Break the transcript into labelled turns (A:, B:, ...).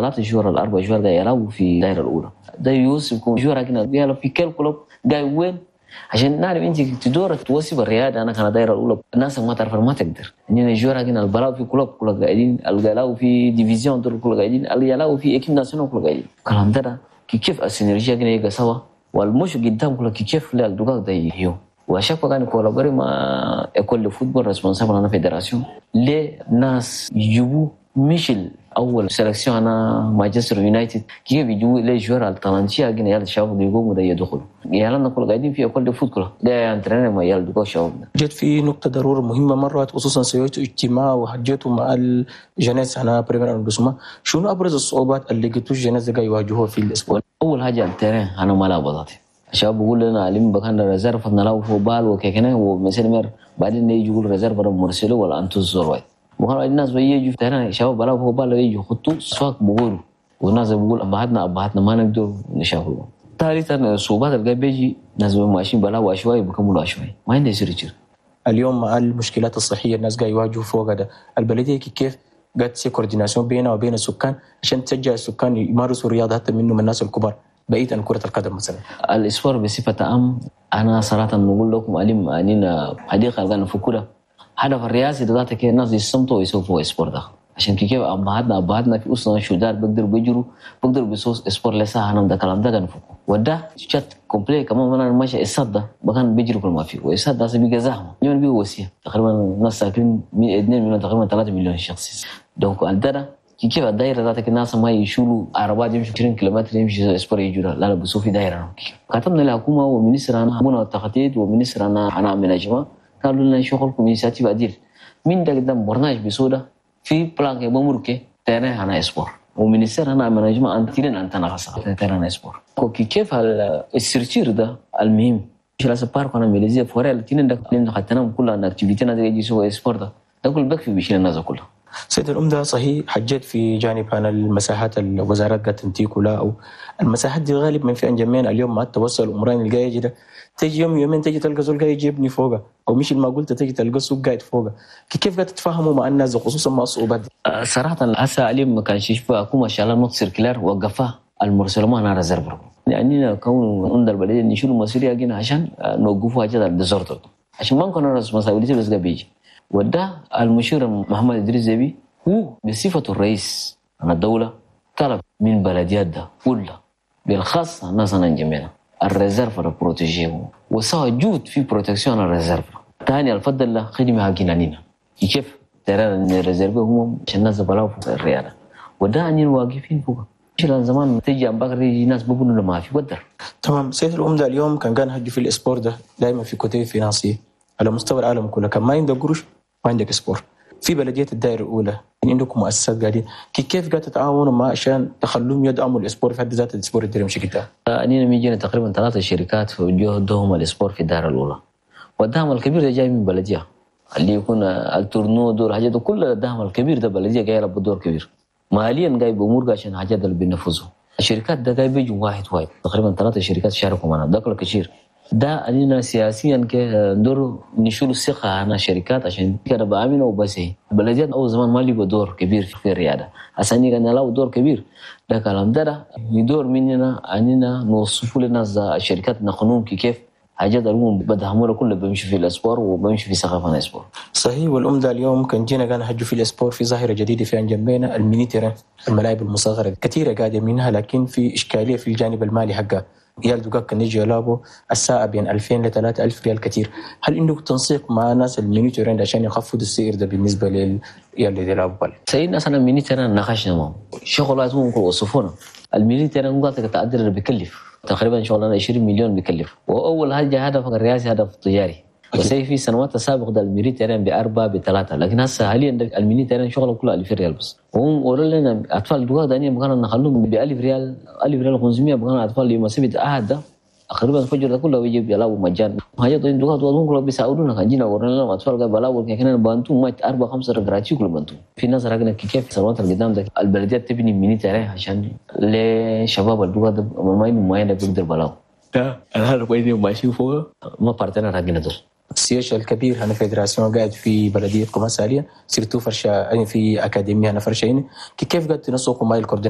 A: 3 شهور ولا 4 شهور قاعد يلعبوا في الدائرة الاولى. ده يوسف يكون joueur كده يلعب في كل club قاعد وين، عشان نعرف انت تدور توصف الرياضة. انا كان الدائرة الاولى الناس ما تعرف، ما تقدر. اننا joueur كنا البلاو في club كل قاعدين، القلاو في division دول كل قاعدين، اليلاو في équipe nationale كل قاعدين. كلام ده كيف ال synergie كنا يجا سوا والمش قدام كل كيف لا الدقاق ده يو. و à chaque fois كان collaborer مع école de football responsable هنا fédération، ليه ناس يجيبوا مش اول sélection انا مانشستر يونايتد، كيف يجيبوا les joueurs ال talentueux كنا يلا الشباب يقوموا ده يدخلوا يلا كل قاعدين في école de foot كلها ده entraîner ما يلا دقاق شباب.
B: جت في نقطة ضرورة مهمة مرات، خصوصا سويتوا اجتماع وحجيتوا مع ال jeunesse هنا premier arrondissement. شنو أبرز الصعوبات اللي لقيتوا ال jeunesse قاعد يواجهوها في ال sport؟
A: اول حاجة ال terrain انا ما لعب الشباب بيقول لنا علم بكان réserve نلعب فوق balle وكيكنا ومثل مر، بعدين يجي يقول réserve مرسلو ولا انتو زور وكان الناس بيجوا terrain شباب بلعب فوق balle، يجوا خطوا سواق بقولوا، والناس بيقول ابهاتنا ما نقدر نشافوا. ثالثا الصعوبات اللي بيجي ناس ماشيين بلاو عشوائي، بكملوا عشوائي، ما عندي يصير.
B: اليوم مع المشكلات الصحية الناس قاعد يواجهوا فوق ده، البلدية كيف قاعد تسوي coordination بينها وبين السكان عشان تشجع السكان يمارسوا الرياضه، حتى منهم الناس الكبار، بعيد عن كرة القدم مثلا؟
A: ال sport بصفة عام، أنا صراحة نقول لكم أليم أننا حديقة اللي نفكرها هدف الرئاسي ده ذاتك الناس يستمتعوا ويسووا sport ده، عشان كيف ابهاتنا في اسره شداد بيقدروا بيجروا، بيقدروا بيسووا sport لسه انا ده كلام ده كان فوق. وده شت complet كمان انا ماشي السد ده بكان بيجروا كل ما فيه، والسد ده بيجي زحمه يوم بيجي وسيع، تقريبا الناس ساكنين 2 مليون، تقريبا 3 مليون شخص. donc الدرة كيف الدائرة ذاتك الناس ما يشيلوا عربات يمشوا 20 كيلومتر يمشي sport يجوا، لا لا، بسوا في دائرة. كتبنا الحكومة و ministre انا بنا التخطيط و ministre انا aménagement، قالوا لنا شغلكم initiative ادير من ده قدام برنامج بسودا في plan بمركه terrain هنا sport، و ministère هنا aménagement انتين انت نغسا terrain sport. كيف ال structure ده المهم مش لازم parc انا ميليزيا forêt الاثنين ده لان خدتنا كلها activité ناس يجي سوى sport ده كل بكفي بيشيل الناس كلها.
B: سيد العمدة، صحيح حجيت في جانب عن المساحات الوزارات قاعد تنتيك ولا أو المساحات دي غالب من في انجمين. اليوم مع التوسع العمراني اللي جاي ده، تيجي يوم يومين تيجي تلقى زول قاعد يجيبني فوقها، او مش ما قلت تيجي تلقى سوق قاعد فوقها. كيف قاعد تتفاهموا مع الناس خصوصا مع الصعوبات دي؟
A: صراحة هسه اليوم ما كانش يشوف حكومة شغالة note circulaire وقفها ال morcellement هنا réserve، يعني كون عند البلدية نشيلوا مسؤولية جينا عشان نوقفوا حاجات ال désordre، عشان ما نكون responsabilité بس بيجي. وده المشير محمد ادريس زبي هو بصفة الرئيس عن الدولة طلب من بلديات ده كلها، بالخاص الناس جميعا ال réserve protéger وسوى جود في protection ال réserve. ثاني الفضل له خدمة حقنا كيف terrain réservé هم عشان الناس بلاو في الرياضة، وده أنين واقفين فوق. زمان تيجي عم بكر يجي ناس بيقولوا ما في ودر.
B: تمام سيد العمدة، اليوم كان هجي في ال sport ده دائما في côté financier على مستوى العالم كله، كان ما عندك قروش ما عندك sport. في بلديه الدائرة الاولى يعني عندكم مؤسسات قاعدين، كيف قاعد تتعاونوا مع عشان تخلوهم يدعموا ال sport في حد ذاته، ال sport اللي يمشي قدام؟
A: أنينا ميجينا تقريبا ثلاثة شركات في جهدهم ال sport في الدائرة الأولى، والدعم الكبير ده جاي من بلدية، اللي يكون ال tournoi دور حاجات كل الدعم الكبير ده بلدية جاي يلعب دور كبير ماليا، جاي بأمور عشان حاجات اللي بينفذوا. الشركات ده جاي بيجوا واحد واحد، تقريبا ثلاثة شركات شاركوا معنا، ده كله كثير. ده أننا سياسيا ندور نشيل الثقة عن الشركات عشان كده بآمنوا وبس. هي البلديات أول زمان ما لقوا دور كبير في الرياضة، عشان كان له دور كبير. ده كلام ده يدور مننا أننا نوصفوا للناس الشركات نقنون كيف حاجات الأمم بدهموا كله بيمشي في ال sport وبيمشي في ثقافة ال sport.
B: صحيح، والأمدة اليوم كان جينا كان هجوا في ال sport، في ظاهرة جديدة في أنجمينا، ال mini terrain، الملاعب المصغرة كثيرة قاعدة منها، لكن في إشكالية في الجانب المالي حقها. عيال دقاق كان يجي يلعبوا الساعة بين 2000 ل 3000 ريال كثير. هل عندكم تنسيق مع ناس ال mini terrain عشان يخفضوا السعر ده بالنسبة للعيال اللي يلعبوا balle؟
A: سيدنا مثلا mini terrain ناقشنا معهم، شغلات ممكن وصفونا ال mini terrain قالت تعدل بيكلف تقريبا شغلنا 20 مليون بيكلف. واول حاجة هدف الرئاسي هدف تجاري، بس في سنوات السابقة ده ال mini terrain باربعة بثلاثه، لكن هسه حاليا ال mini terrain شغله كله 2000 ريال بس. وهم قالوا لنا اطفال دقاق دانية بكان نخلوهم ب 1000 ريال، 1000 ريال 500، بكان اطفال يوم سبت احد ده تقريبا الفجر ده كله بيجي بيلعبوا مجان. حاجات دقاق هم كله بيساعدونا. كان جينا ورينا لهم اطفال قاعد بيلعبوا كان بانتو ما اربعة خمسة gratuit كله بانتو. في ناس راقنا كيف سنوات القدام ده البلديات تبني mini terrain عشان لشباب الدقاق ده ما ما بيقدر بلاو.
B: ده انا وين ماشي فوق.
A: ما partenaire حقنا دول.
B: ال siège الكبير هنا fédération قاعد في بلديتكم هسه حاليا، surtout فرشة يعني في اكاديمية هنا فرشه هنا، كيف قاعد تنسقوا مع ال coordination؟